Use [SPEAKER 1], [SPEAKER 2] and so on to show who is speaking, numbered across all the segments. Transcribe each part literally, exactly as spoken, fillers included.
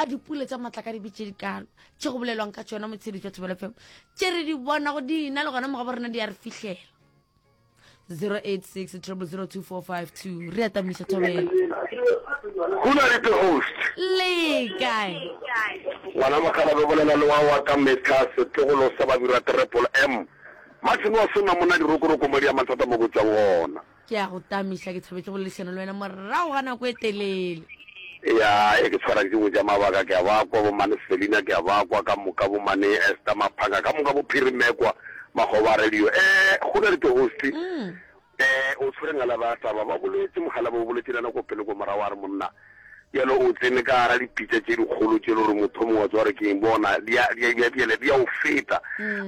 [SPEAKER 1] A dipula tša matlakadibe tše dikalo tše go bolelwang ka tšona motshedi jwa Thobela F M tše re di bonago di na le gona mogabo rena di a re fihlela. zero eight six zero zero zero two four five two re atamiša Thobela.
[SPEAKER 2] Go na le the host.
[SPEAKER 1] Le kae?
[SPEAKER 2] Ngwana mogala be bolela le wa wa ka metlha, setlogolo sa Babirwa Triple M, Martin wa sona monna dirokoroko mo di ya mathata mo go tswang gona.
[SPEAKER 1] Ke a go tamiša, ke thabetse go boledišana le wena morago ga nako e telele.
[SPEAKER 2] Ya e ke tshwara ke dingwe tša mabaka, ke a ba kwa bomane Selina, ke a ba kwa ka moka bomane Esther Maphanga, ka moka bophirimekwa makgoba a radio. um go na le the host.
[SPEAKER 1] mm.
[SPEAKER 2] um o tshwere ngala ba taba ba boletse mogala ba o boletse le nako pele ko morago, a re monna bjalo o tsene ka gara dipitša tše dikgolo tše le gore motho mongwe wa tsewa gore ke eng bona di a- di a- di a- bjale di a o feta,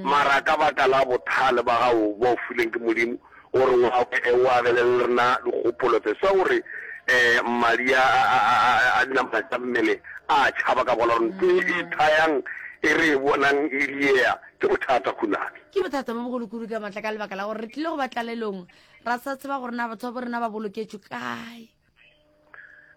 [SPEAKER 2] mara ka baka la bothale ba gago ba o fileng ke Modimo gore o o abele le rena dikgopolo tse sa gore um madi a a- a a- a dinamana tša mmele a tšhaba ka bona gore ntho e thayang e re e bonang e diea ke bothata khunane.
[SPEAKER 1] Ke bothata bo bogolokulu ka maatla, ka lebaka la gore re tlile go ba tlalelong ra sa tseba gore na batho ba bo rena ba boloketšwe kae.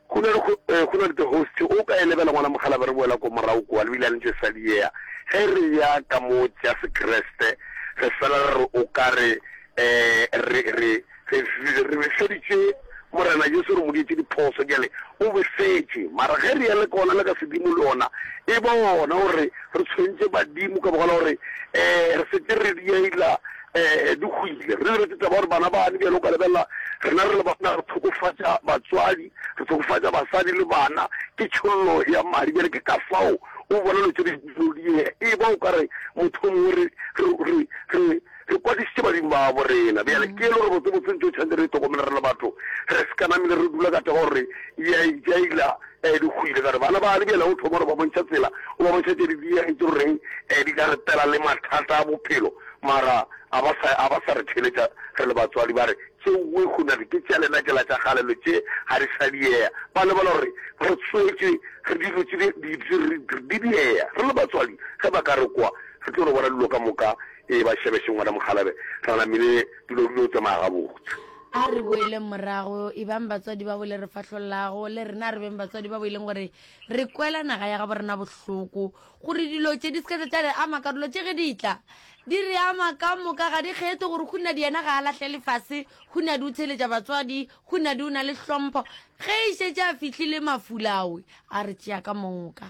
[SPEAKER 2] Go na le go na le the host, o ka e lebela ngwana mogala be re boela ko morago kua le bile ntse sa diea ge re ya ka mo tša sekreste, re fela re re o ka re um re re re re befeditše Morena Jesu, re mo dietse diphoso, bjale o befetše, mara ge re ya le kona le ka sedimo le ona e ba ona gore re tshwentše badimo ka bogala gore um re setse re diela um di hwile, re lebetse taba gore bana bane bjale o ka lebelela rena re le bana re tlhokofatša batswadi, re tlhokofatša basadi le bana ke tšhollo ya madi. Bjale ke ka fao o bona lo tse di die e ba o ka re motho mongwe re re re re kwadišitše badimo ba bo rena. Bjale ke e le gore botsebotse ntse o tshwanetse re tlhokomele re le batho, re se ka namile re dula ka taba gore ya ijaila um di hwile ka re bana ba le bjale o thoma gore ba bontšha tsela, o ba bontšha tse di dieng tse goreng um di ka re tela le mathata a bophelo, mara a ba sa a ba sa re theletša re le batswadi, ba re tšeoe hunane ke tša lena tšela tša kgalelo tše ga di sa diea, ba lebala gore re tswetše re dilo tše di diea re le batswadi. Ge ba ka re kwa re tlo re bona dilo ka moka e ba šebešeng ngwana mogalabe ra namile dilo dilo tsamaya gabotse.
[SPEAKER 1] A re boeleng morago, e bang batswadi ba bo le re fahlollago le rena re beng batswadi ba bo e leng gore re kwela naga ya gabo rena bohloko, gore dilo tše di se ka tša re ama karolo tše ge di tla di re ama ka moka, ga di kgethe gore Hunadi yena ga a lahle lefase, Hunadi o theletša batswadi, Hunadi o na le hlompho. Ge e šetše a fihlile mafulawe a re tšea ka moka.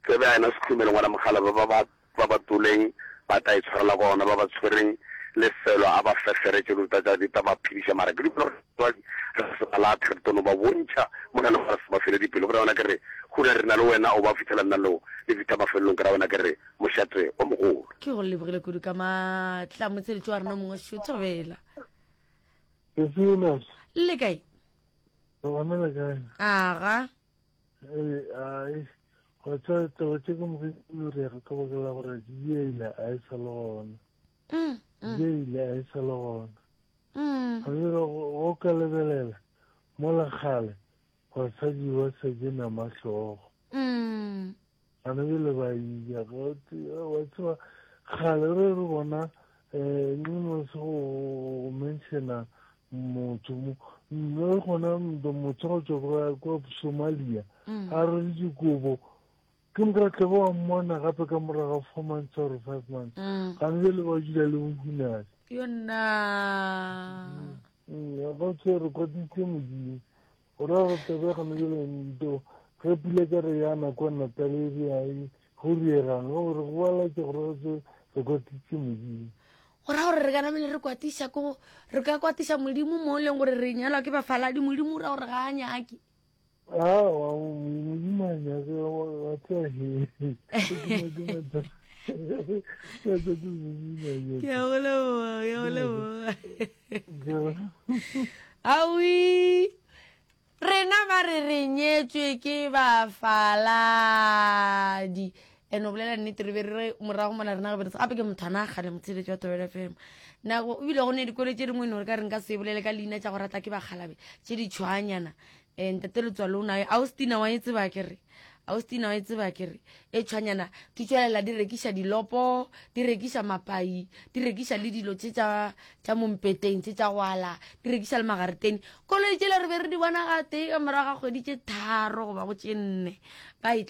[SPEAKER 2] Tsebe a ena sekhumele ngwana mogala ba ba ba ba toleng ba tla e tshwarela ka ona ba ba tshwereng lefelo a ba feferetse lo tsa di tla ba phediša, mara ke dumela gore batswadi re se ba lathe, re tono ba bontšha mona le gore se ba fele dipelo. Ke ra wena ke re gona re na le wena o ba fitlhela nna leo le fitlha mafelelong, ke ra wena ke re mošate o mogolo.
[SPEAKER 1] Ke go lebogile kudu ka maatla motsheletso wa rena mongwe šo, Thobela.
[SPEAKER 3] Sesinas.
[SPEAKER 1] Le kae?
[SPEAKER 3] Gona le kae?
[SPEAKER 1] Aga.
[SPEAKER 3] Ee, ai. Go tsa taba tše ka moka di direga ka baka la gore diela a e sa le gona.
[SPEAKER 1] Mm, mm,
[SPEAKER 3] Diela a e sa le gona.
[SPEAKER 1] mm.
[SPEAKER 3] Ga jalo go ka lebelela mola kgale basadi ba sa je nama hlogo.
[SPEAKER 1] Mm.
[SPEAKER 3] Gana bjale ba iya wa tseba kgale re re bona um no se go mentiona motho mo mme gona motho go tswa kwa Somalia
[SPEAKER 1] Mm.
[SPEAKER 3] a re dikobo ke moka tle ba mmona gape ka morago ga four months or five months.
[SPEAKER 1] Mm.
[SPEAKER 3] Gane bjale ba dula le bohunadi.
[SPEAKER 1] Yona.
[SPEAKER 3] Ba tse re kwatitse Modimo o ra gore tebe gane bjale nto ge pula ka re yana kwa Natal area go riegang gore go balatse gore re re kwatitse Modimo.
[SPEAKER 1] Go ra gore re ka namele re kwatiša ko re ka kwatiša Modimo mo e leng gore re nyalwa ke bafaladi, Modimo o ra gore ga a nyake.
[SPEAKER 3] Awa, Modimo a nyake wa tseba he
[SPEAKER 1] ke a go leboga, ke a go leboga. Awi rena ba re re nyetswe ke bafaladi ene o bolela nnete, re be re re morago mola rena re be re gape ke motho ana kgale motsheletso wa Thobela F M nako ebile go ne dikolo tše dingwe ne gore ka re nka se bolele ka leina tša go rata ke bakgalabe tše di tšhwanyana um ntate letswalo o nayo Austina wa e tseba ke re Austina wa e tseba ke re e tšhwanyana di tswelela di rekiša dilopo, di rekiša mapai, di rekiša le dilo tše tša tša mompeteng tše tša go ala, di rekiša le magareteng. Koloi tšela re be re di bona gate ka morago ga kgwedi tše tharo goba go tše nne ba e